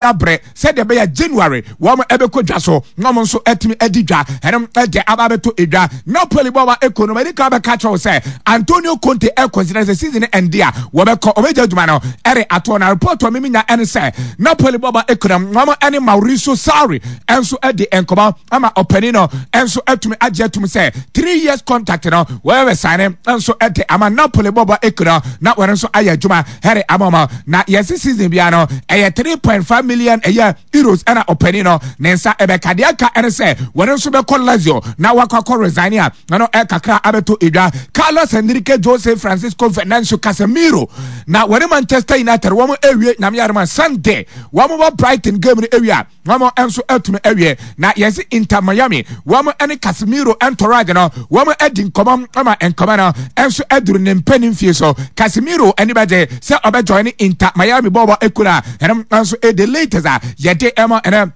Abrɛ sɛdeɛ ɛbɛyɛ January wɔn ɛbɛkɔ dwa so na wɔn nso atumi adi dwa. Ɛnom ɛde aba abɛto edwa. Napoli bɔ wa eko no mɛdi kan bɛka kyerɛw sɛ Antonio Conte ɛkɔnsida sɛ season ɛnde a wɔbɛkɔ ɔbɛgya adwuma no ɛde ato na report a mimi nya ɛne sɛ Napoli bɔ wa eko no wɔn ɛne Mauricio Sarri ɛnso ɛde nkɔmɔ ama ɔpanin no ɛnso atumi agye atum sɛ 3 years contract no wɔbɛ sign ɛnso ɛde ama Napoli bɔ wa eko no na wɔn nso ayɛ adwuma ɛde ama wɔn. Na yɛsi season bia no ɛyɛ 3.5 million ɛyɛ euros ɛna ɔpanin no ne nsa ɛbɛka. Deɛ aka ɛne sɛ wɔn nso bɛkɔ Lazio na wakɔ akɔ resign a ɛno ɛkakra abɛto edwa. Carlos Enrique Jose Francisco Venancio Casemiro na wɔne Manchester United wɔn ewie. Nyame yarema, Sunday wɔn bɔ Brighton game no ewie a, wɔn nso atumi awie. Na yɛsi Inter Miami wɔn ne Casemiro entourage no wɔn adi nkɔmɔ ama nkɔmɔ no nso aduru ne mpanin fie so. Casemiro ani bɛgye sɛ ɔbɛjoin ne Inter Miami bɔɔbɔ ekura. Ɛno nso the latest a yɛde ɛma ɛnɛ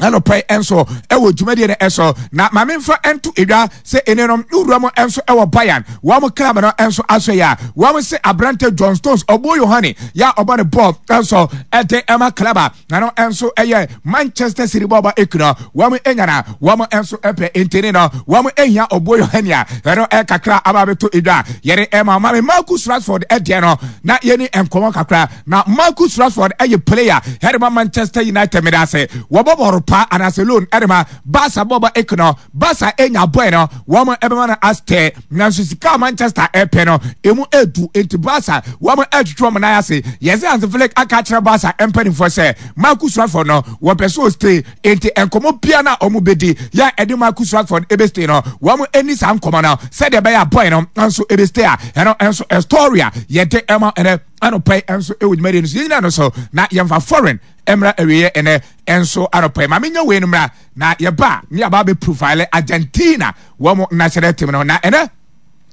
anɔpɛ nso ɛwɔ dwumadie no ɛso. Na maame nfa nto edwa sɛ ɛne no wura mu nso ɛwɔ Bayern wɔn club no nso aso yɛ a wɔn se aberante John Stones ɔbɔ Yohane yɛ a ɔbɔ ne bɔɔl nso ɛde ɛma club a na no nso ɛyɛ Manchester City bɔɔbɔ ekura. Wɔn enyana wɔn nso ɛpɛ ntini no wɔn ehia ɔbɔ Yohane a ɛno ɛkakra aba abɛto edwa. Yɛde ɛma maame Marcus Rashford ɛdeɛ no na yɛni nkɔmɔ kakra. Na Marcus Rashford ɛyɛ player ɛde ma Manchester United. Mede ase wɔbɔ bɔɔl pa anaasɛ loan ɛde ma Barca bɔɔbɔ ekuna. Barca enya boy no, wɔn ɛbɛma no astɛ, nanso sika a Manchester ɛpɛ no emu edu, nti Barca wɔn ɛtwitwi wɔn nan ase. Yɛsɛ Hansi Flick aka akyerɛ Barca mpanimfoɔ sɛ Marcus Rashford no wɔpɛ so stay, nti nkɔmɔ bia na wɔn bɛdi yɛ ɛde Marcus Rashford ebe stay no, wɔn ani saa nkɔmɔ no sɛdeɛ ɛbɛyɛ a boy no nso ebe stay a ɛno nso story a yɛde ɛma ɛnɛ anɔpɛ nso ɛwɔ dwumadie no so. Yɛn nyinaa no so na yɛmfa foreign mmra awieɛ ɛnɛ nso anɔpɛ. Maame nya wei no mmra na yɛba ne yɛba bɛ profile Argentina wɔn national team no. Na ɛnɛ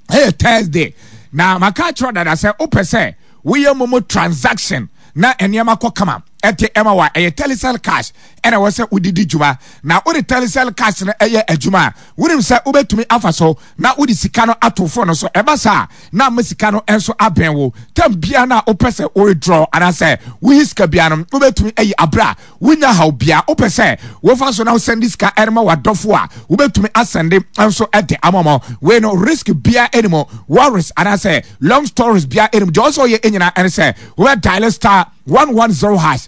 ɛyɛ Thursday na maka akyerɛ dada sɛ wopɛ sɛ woyɛ momo transaction na nneɛma kɔ kama ɛte ɛma wa, ɛyɛ Telecel Cash ɛna ɛwɔ sɛ wodidi dwuma. Na wode Telecel Cash no ɛyɛ adwuma a, wonim sɛ wobɛtumi afa so na wode sika no ato phone no so. Ɛba saa na ama sika no nso abɛn wo tam bia na wopɛ sɛ withdraw anaasɛ woyi sika bia no, wobɛtumi ayi aberɛ a wonya haw bia. Wopɛ sɛ wofa so na wosɛnde sika ɛrema w'adɔfo a, wobɛtumi asɛnde nso ɛde ama mɔ. Wei no risk bia anim, worries anaasɛ long stories bia anim. Deɛ ɔsɛ ɔyɛ nyinaa ɛne sɛ wobɛ dial *110#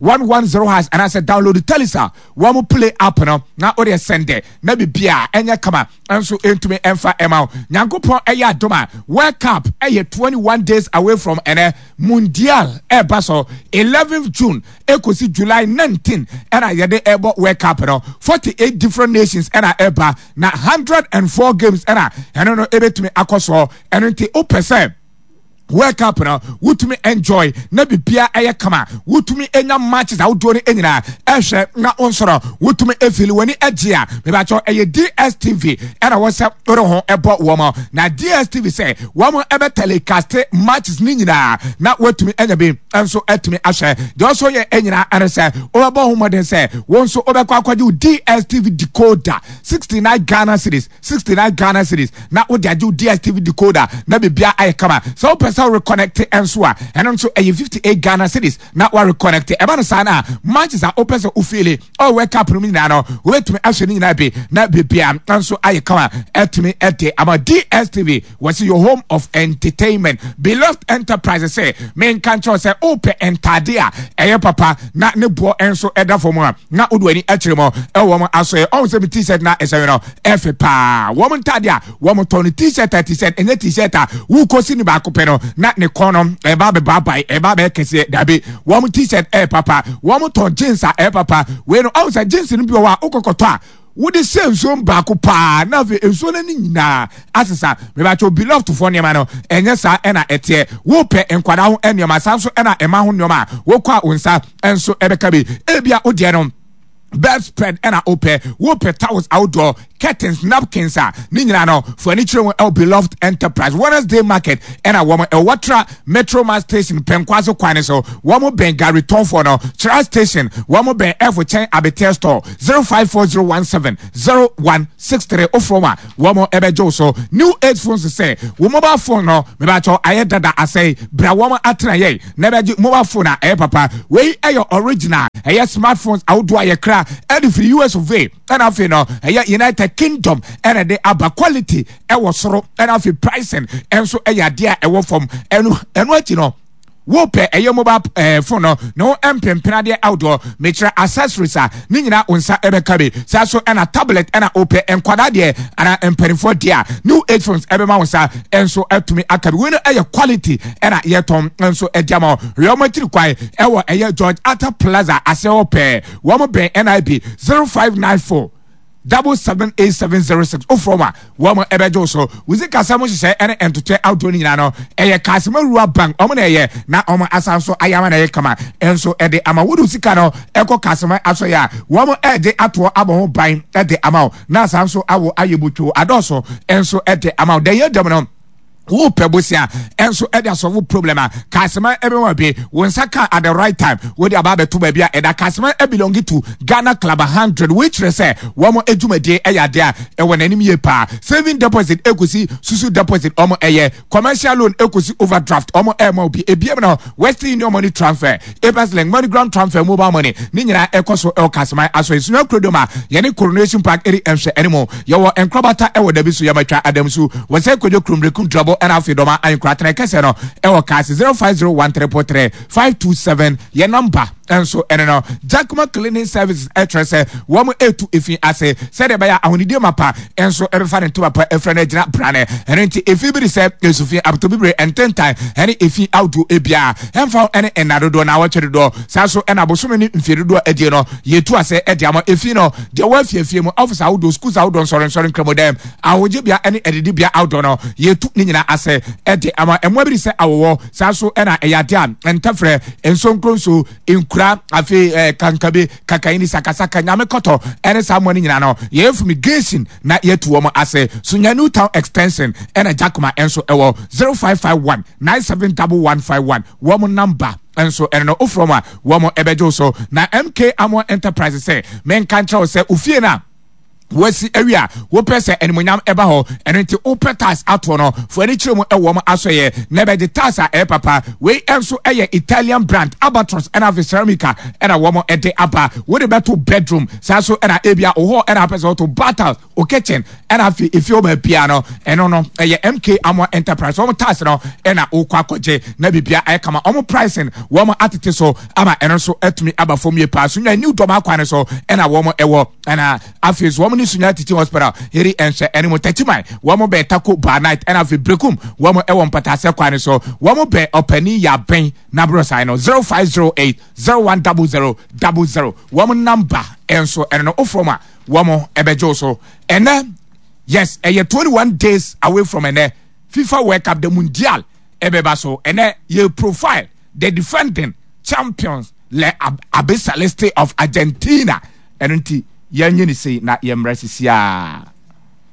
*110# anaasɛ download Telecel wɔn play app no na wode sɛnde na bibia ɛnyɛ kama nso ntumi ɛmfa ɛma wo. Nyankopɔn ɛyɛ adom a, World Cup ɛyɛ 21 days away from ɛnɛ. Mundial ɛba so 11th June ɛkɔsi July 19 ɛna yɛde ɛbɔ World Cup no. 48 different nations ɛna ɛba na 104 games ɛna ɛno no ɛbɛtumi akɔ soɔ. Ɛno nti wopɛ sɛ World Cup no wotumi enjoy na bibia ɛyɛ kama, wotumi enya matches ahodoɔ no nyinaa ɛhwɛ na wonsoro wotumi efili w'ani agye a, mebakyɛw ɛyɛ DStv ɛna wɔ sɛ wode ho ɛbɔ wɔn. Na DStv sɛ wɔn ɛbɛ telecast matches ne nyinaa na watumi anya bi nso atumi ahwɛ. Deɛ ɔso yɛ nyinaa ɛne sɛ wobɛbɔ ho mmɔden sɛ wɔn nso wobɛkɔ akɔgye wo DStv decoder, 69 Ghana cedis, 69 Ghana cedis, na wode agye wo DStv decoder na biribiara ayɛ kama. Sɛ wopɛ sɛ woreconnect nso a, ɛno nso ɛyɛ 58 Ghana cedis na wareconnect. Ɛba no saa no a, matches a wopɛ sɛ wofeele ɔwɔ World Cup no mu nyinaa no, wobɛtumi ahwɛ ne nyinaa bi na biribiara nso ayɛ kama ɛtumi ɛde ama. DStv wɔsi your home of entertainment. Beloved Enterprise sɛ menka nkyɛw sɛ wopɛ ntade a ɛyɛ papa na ne boɔ nso ɛda fam a, na wode w'ani akyerɛ mu ɛwɔ wɔn aso. Ɔn sɛ mi T-shirt na ɛhyɛ no ɛfɛ paa. Wɔn ntade a wɔn tɔn no, T-shirt a T-shirt ɛnyɛ T-shirt a wokɔsi ne baako pɛ no na ne kɔn no ɛba abɛbaabae, ɛba abɛyɛ kɛseɛ. Dabi, wɔn T-shirt ɛyɛ papa. Wɔn tɔn jeans a ɛyɛ papa. Wei no ɔn sɛ jeans no bi wɔ hɔ a wokɔkɔtɔ a wode hyɛ nsuo baako paa na afei nsuo no ani nyinaa asesa. Mebakyɛw, Beloved foɔ nneɛma no ɛnyɛ saa ɛna ɛteɛ. Wopɛ nkwadaa ho nneɛma saa nso ɛna ɛma ho nneɛma a, wokɔ a wo nsa nso ɛbɛka bi. Ebia wodeɛ no bedspread ɛna wopɛ, wopɛ towels ahodoɔ. curtains, napkins a ne nyinaa no fo ani kyerɛ mu ɛwɔ Beloved Enterprise, Wednesday Market ɛna wɔn ɛwɔ Watra Metro Mass Station Pɛnkwaso kwan no so. Wɔn bɛn gari tɔnfoɔ no, Kyerɛ Station, wɔn bɛn ɛfo kyɛn Abeteɛ Store, 054017 0163 ofrɛ wɔn a wɔn ɛbɛgye wo so. New Age Phones sɛ wo mobile phone no mebakyɛw ayɛ dada asɛe, bra wɔn atena yɛn na ɛbɛgye mobile phone a ɛyɛ papa. Wei ɛyɛ original, ɛyɛ smartphones ahodoɔ a yɛkra ɛde firi US of A ɛna afei no ɛyɛ United Kingdom ɛna ɛde aba. Quality ɛwɔ soro ɛna afei pricing ɛnso ɛyɛ adeɛ a ɛwɔ fam. Ɛno ɛno akyi no wopɛ ɛyɛ mobile phone no ne ho mpempena adeɛ ahodoɔ, mekyerɛ accessories a ne nyinaa wo nsa ɛbɛka bi. Saa so ɛna tablet ɛna wopɛ nkwadaa deɛ anaa mpanimfoɔ deɛ a, New Age Phones ɛbɛma wo nsa ɛnso atumi aka bi. Wei no ɛyɛ quality ɛna yɛtɔn nso ɛde ama wo. Hwɛ wɔn akyiri kwan ɛwɔ ɛyɛ George Arthur Plaza aseɛ hɔ pɛɛ, wɔn bɛn NIB. 0594 778706 wofrɛ wɔn a wɔn ɛbɛgye wo so. Wo sikasɛm nhyehyɛe ɛne ntotoɛ ahodoɔ no nyinaa no ɛyɛ Kasima Rural Bank wɔn na ɛyɛ na wɔn asan so ayɛ ama na ɛyɛ kama nso ɛde ama wo. De sika no ɛkɔ Kasima asɔyɛ a wɔn ɛde atoɔ abɔ ho ban ɛde ama wo na asan so awo ayɛ botwo adɔɔso nso ɛde ama wo. Dɛn yɛ dɛm no wopɛ bosia ɛnso ɛde asɔfo problem a Kasima ɛbɛma bi wo nsa ka at the right time. Wode aba abɛto baabi a ɛda Kasima belong to Ghana Club 100. Wei kyerɛ sɛ wɔn adwumadie ɛyɛ adeɛ a ɛwɔ n'anim yie paa. Saving deposit ekosi susu deposit wɔn ɛyɛ, commercial loan ekosi overdraft wɔn ɛɛma obi ebiem no, Western Union money transfer, Abas Link, MoneyGram transfer, mobile money ne nyinaa ɛkɔ so ɛwɔ Kasima aso esua kurodom a yɛne Coronation Park ɛri ɛnhwɛ anim. Yɛwɔ nkorabata ɛwɔ dabi so yɛmatwa adamsu wɔsɛ kodwo kurumrekum drɔbo ɛna afei dɔma ayenkora tena kɛsɛ no ɛwɔ kaase. 0501333527 yɛ namba nso ɛno no. Jackman Cleaning Services ɛkyerɛ sɛ wɔn etu efi ase sɛdeɛ ɛbɛyɛ ahonidie mapa nso ɛbɛfa ne ntoma pa efra no agyina brane. Ɛno nti efi bi de sɛ esufi abotobibire ntentan ɛne efi ahodoɔ ebia ɛnfa ɛne nna dodoɔ na awɔtwe dodoɔ saa so ɛna abosome ne mfie dodoɔ adie no yɛtu ase ɛde ama efi no deɛ wɔ afiefie mu, office ahodoɔ, schools ahodoɔ, nsɔrensɔre, nkramodɛm, ahogyebea ɛne adidibea ahodoɔ no yɛtu ne nyinaa ase ɛde ama. Ɛmoa bi de sɛ awɔwɔ saa so ɛna ɛyɛ adeɛ a ntɛfrɛ nsonkronso nkura afei kankabe kakayini sakasaka nyame kɔtɔ ɛne saa mmoa no nyinaa no yɛyɛ fumigation na yɛtu wɔn ase. So nya New Town Extension ɛna Jakoma nso ɛwɔ. 0551 971151 wɔn number nso ɛno no wofrɛ wɔn a wɔn ɛbɛgye so. Na MK Amoa Enterprise sɛ menka nkyerɛ wo sɛ ofie no a wasi awi a wopɛ sɛ animonyam ɛba hɔ, ɛno nti wopɛ tiles atoɔ no, fo ani kyerɛ mu ɛwɔ m asɔyɛ na ɛbɛgye tiles a ɛyɛ papa. Wei nso ɛyɛ Italian brand Albatros ɛna afei Ceramica ɛna wɔn ɛde aba. Wode bɛto bedroom saa so ɛna ebia wo hɔ ɛna apɛ sɛ woto bath, o kitchen ɛna afei efie hɔ baabiara no ɛno no ɛyɛ MK Amoa Enterprise wɔn tiles no ɛna wokɔ akɔgye na biribiara ayɛ kama. Wɔn pricing wɔn atete so ama ɛno nso atumi aba fam yie paa. So nya New Dɔm akwan no so ɛna wɔn ɛwɔ ɛna afei so wɔn ne Sunya Teaching Hospital yɛri ɛnhyɛ ɛne mu. Tɛkyiman wɔn bɛn Tako Bar Night ɛna afei Brekum wɔn ɛwɔ Mpataasɛ kwan no so, wɔn bɛn Ɔpanin Yabɛn n'aborɔsan no. 0508 010000 wɔn number ɛnso ɛno no wofrɛ mu a wɔn ɛbɛgye wo so. Ɛnɛ yes, ɛyɛ 21 days away from ɛnɛ FIFA World Cup, the Mundial ɛbɛba so. Ɛnɛ yɛ profile the defending champions, Le Albiceleste of Argentina. Ɛno nti yɛnyɛ ne sei na yɛmmrɛ sisiaa.